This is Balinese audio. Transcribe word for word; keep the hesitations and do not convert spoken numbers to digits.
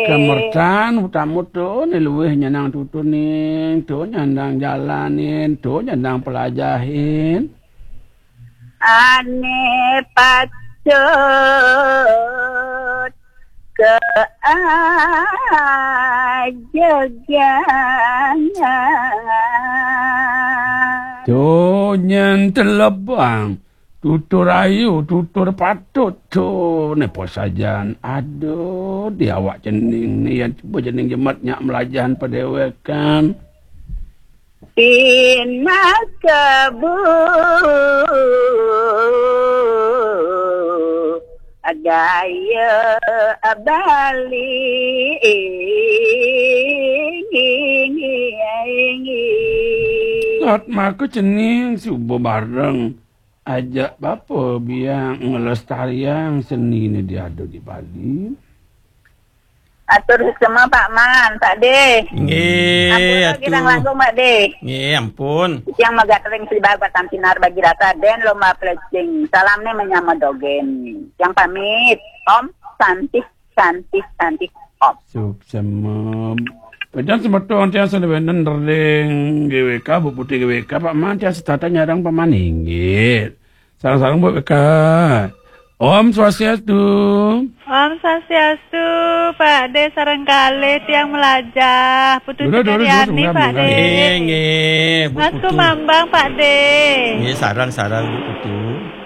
Kemertan utamu tu ni luwih nyenang tutur ning, tu nyandang jalanin, tu nyandang pelajahin. Ane patut keajegan. Tu nyen telebang. Tutur ayu, tutur patut tu nepo sajan. Aduh, di awak cening ni, yan cuba cening jemet nyak melajahan padewekan. Pinaka bu gaya Bali. Kat maka cening suba bareng ajak bapa biang ngelestariang seni ne diadu di Bali. Atur semua Pak Man, Pak De. Nggih, ampun lagi Atu. Nang langgung, Pak De. Nggih, ampun. Yang megat ring sibar batang sinar bagi rasa den lomba plecing. Salam nih menyama dogen. Yang pamit, Om Santi, Santi, Santi, Om. Suksma. Pedan semeton tiang sane wenen ring G W K, Bu Putih G W K, Pak Man tiang setata nyarang Pak Man inggih. Sareng-sareng Bu P K. Om Swastiastu. Om Swastiastu, Pak De sareng kalih tiang melajah. Putu Dulu, dulu, Sekaliani, dulu, Pak De. Nggih, nggih, Bu Mas Putu. Kumambang, Pak De. Nggih, sareng-sareng Bu Putu.